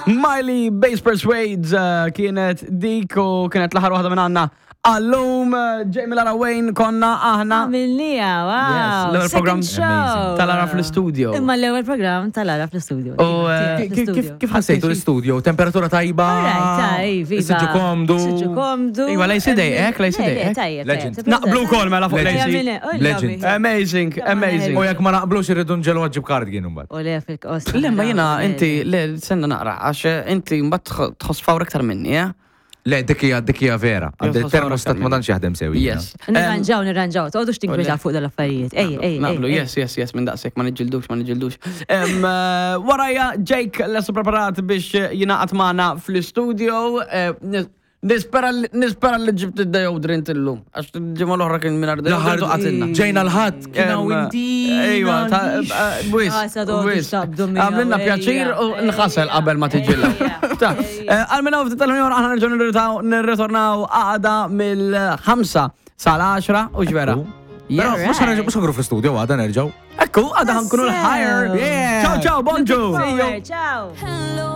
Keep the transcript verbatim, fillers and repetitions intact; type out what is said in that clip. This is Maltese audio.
Miley Bass Persuades uh, kienet dik u kienet l-aħħar waħda minn għandna. Għallum, uh, Jamie Lara Wayne konna aħna. Għamilnieha, wow. Yes, l-ewwel Second program show. tal-Ara fl-studio. Imma l-ewwel program tal-Ara fl-studio. U, eh, Kif kif- kif ħassejtu l-studio? Temperatura tajba? Alright, tajb, iva. Siġġu komdu. Siġġu komdu. Iva, lejsi dejqek, lejsi Le, le, dejqek. tajjeb, Legend. tajjeb. Naqblu wkoll mela fuq Legend. Lacey. Legend. Amazing, amazing. U jekk ma naqblux irridu nġelu għadġib cardigan imbagħad. U le fil-qost. Le, ma jena, inti, le, senna naqra, għax inti mbagħad tħoss fawr iktar minni, eh? Le, dik hija dik hija vera. Għandi Jien termostat ma tantx jaħdem sewi. Yes. Nirranġaw, nirranġaw. Toqgħodux tinkwetaw fuq dal-affarijiet. Ej, ej, Naqblu, ej. yes, yes, yes, minn daqsek, ma niġġildux, ma niġġildux. Em, eh, Warajja, Jake lest preparat biex jingħaqad magħna fl-studio. Eh, nis- Nispera li- nispera li ġibt id-deodorant illum. Għax ġimgħa l-oħra kien minn deodorant u qatilna. Ġejna l-ħadd kien hawn Em, inti. Ejwa, ta' eh, wis, Ah, sa dodu wis. xtabdu miegħu, Għamlilna ejja, pjaċir u nħasel ejja, qabel ma tiġilla. ejja, Ta' ejja. eh, Għal-minna ftit tal-ħin aħna nerġgħu nirritaw- nirritornaw għada mill-ħamsa sal-għaxra u ġvera. Però Yes. mhux ħa nerġgħu mhux ħa nkunu fl-studio għada nerġgħu. Ekku, għada ħa nkunu l-higher. Yeah. Ciao, ciao, bonġu. Forward, Ciao. Hello.